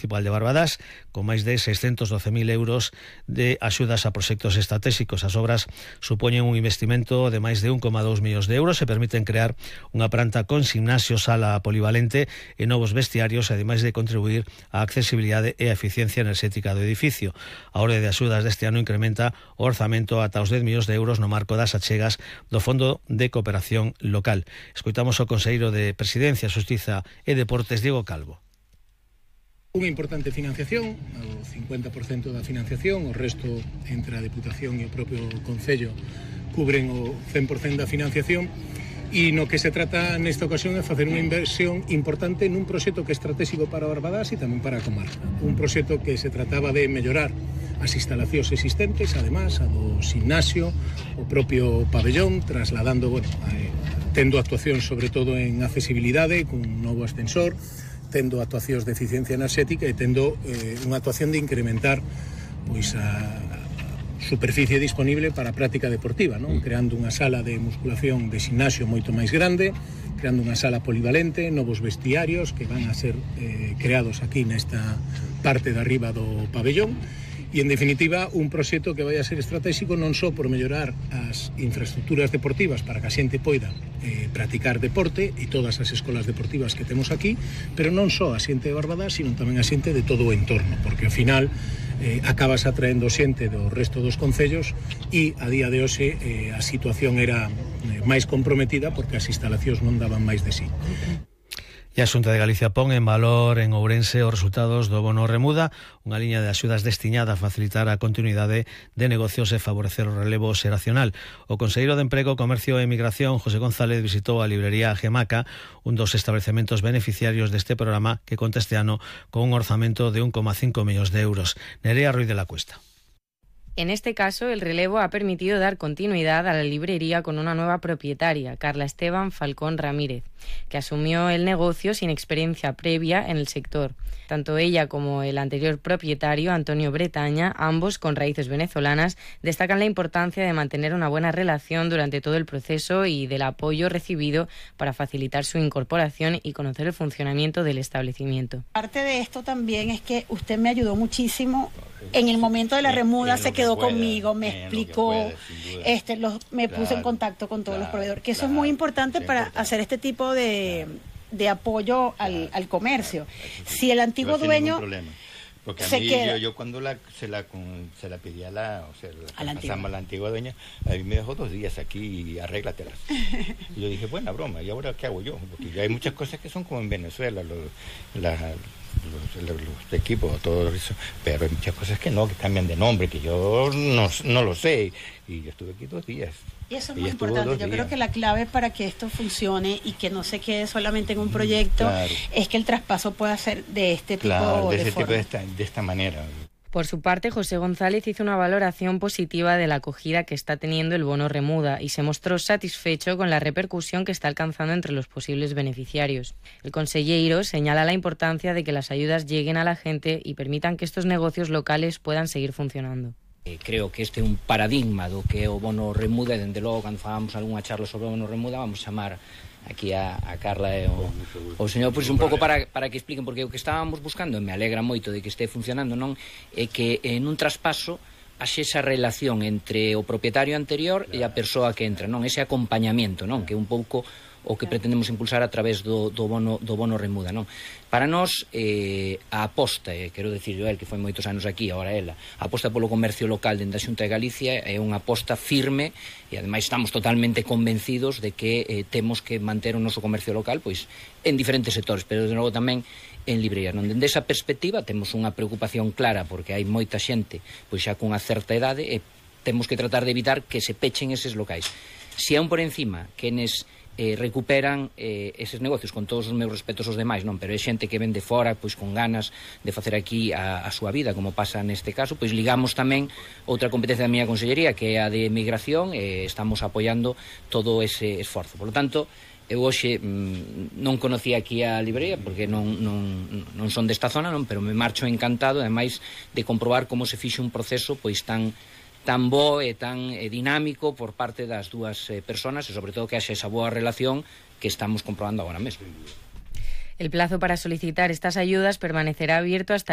municipal de Barbadás, con máis de 612.000 euros de axudas a proxectos estratégicos. As obras supoñen un investimento de máis de 1,2 millóns de euros e permiten crear unha planta con gimnasio, sala polivalente e novos vestiarios, ademais de contribuir á accesibilidade e a eficiencia enerxética do edificio. A orde de axudas deste ano incrementa o orzamento ata os 10 millóns de euros no marco das achegas do Fondo de Cooperación Local. Escoitamos o conselleiro de Presidencia, Xustiza e Deportes, Diego Calvo. Unha importante financiación, o 50% da financiación, o resto entre a Deputación e o propio Concello cubren o 100% da financiación, e no que se trata nesta ocasión é facer unha inversión importante nun proxecto que é estratégico para Barbadás e tamén para a comarca. Un proxecto que se trataba de mellorar as instalacións existentes, además, a do gimnasio, o propio pabellón, trasladando, tendo actuacións sobre todo en accesibilidade, con un novo ascensor, tendo actuacións de eficiencia enerxética e tendo unha actuación de incrementar pois a superficie disponible para a práctica deportiva, non? Creando unha sala de musculación de gimnasio moito máis grande, creando unha sala polivalente, novos vestiarios que van a ser creados aquí nesta parte de arriba do pabellón. E, en definitiva, un proxecto que vai a ser estratégico non só por mellorar as infraestructuras deportivas para que a xente poida practicar deporte e todas as escolas deportivas que temos aquí, pero non só a xente de Barbadás, sino tamén a xente de todo o entorno, porque ao final acabas atraendo xente do resto dos concellos e a día de hoxe a situación era máis comprometida porque as instalacións non daban máis de sí. E a Xunta de Galicia pon en valor en Ourense os resultados do bono remuda, unha liña de axudas destiñada a facilitar a continuidade de negocios e favorecer o relevo xeracional. O conselleiro de Emprego, Comercio e Emigración, José González, visitou a librería Gemaca, un dos establecementos beneficiarios deste programa que conta este ano con un orzamento de 1,5 millóns de euros. Nerea Ruiz de la Cuesta. En este caso, el relevo ha permitido dar continuidad a la librería con una nueva propietaria, Carla Esteban Falcón Ramírez, que asumió el negocio sin experiencia previa en el sector. Tanto ella como el anterior propietario, Antonio Bretaña, ambos con raíces venezolanas, destacan la importancia de mantener una buena relación durante todo el proceso y del apoyo recibido para facilitar su incorporación y conocer el funcionamiento del establecimiento. Parte de esto también es que usted me ayudó muchísimo. En el momento de la remuda se quedó conmigo, me explicó, me puso en contacto con todos los proveedores, que eso es muy importante para hacer este tipo de apoyo al comercio. Si el antiguo dueño porque a mí, yo cuando se la pedí a la antigua dueña, a mí me dejó 2 días aquí y arréglatelas. Y yo dije, buena broma, ¿y ahora qué hago yo? Porque ya hay muchas cosas que son como en Venezuela, los equipos, todo eso, pero hay muchas cosas que no, que cambian de nombre, que yo no lo sé. Y yo estuve aquí 2 días. Y eso es muy importante. Yo creo que la clave para que esto funcione y que no se quede solamente en un proyecto es que el traspaso pueda ser de este tipo de esta manera. Por su parte, José González hizo una valoración positiva de la acogida que está teniendo el bono remuda y se mostró satisfecho con la repercusión que está alcanzando entre los posibles beneficiarios. El conselleiro señala la importancia de que las ayudas lleguen a la gente y permitan que estos negocios locales puedan seguir funcionando. Creo que este é un paradigma do que é o bono remuda e, dende logo, cando fagamos algunha charla sobre o bono remuda, vamos chamar aquí a Carla e o señor, pois un pouco para que expliquen, porque o que estábamos buscando, e me alegra moito de que este funcionando, non é que en un traspaso haxe esa relación entre o propietario anterior e a persoa que entra, non? Ese acompañamento, non? Que é un pouco o que pretendemos impulsar a través do bono remuda, non? Para nós, a aposta, quero dicir eu, que foi moitos anos aquí, agora ela, a aposta polo comercio local dentro da Xunta de Galicia é unha aposta firme e, ademais, estamos totalmente convencidos de que temos que manter o noso comercio local pois en diferentes sectores, pero, de novo, tamén en librerías. Non? Dende esa perspectiva, temos unha preocupación clara porque hai moita xente pois xa cunha certa idade e temos que tratar de evitar que se pechen eses locais. Se aún por encima quenes recuperan eses negocios, con todos os meus respetos aos demais, non, pero é xente que ven de fora pois con ganas de facer aquí a súa vida, como pasa neste caso, pois ligamos tamén outra competencia da miña consellería, que é a de migración, e estamos apoiando todo ese esforzo. Por lo tanto, eu hoxe non conocía aquí a librería porque non son desta zona, non, pero me marcho encantado, ademais de comprobar como se fixe un proceso pois tan bo e tan dinámico por parte das dúas persoas e, sobre todo, que haxe esa boa relación que estamos comprobando agora mesmo. El plazo para solicitar estas ayudas permanecerá abierto hasta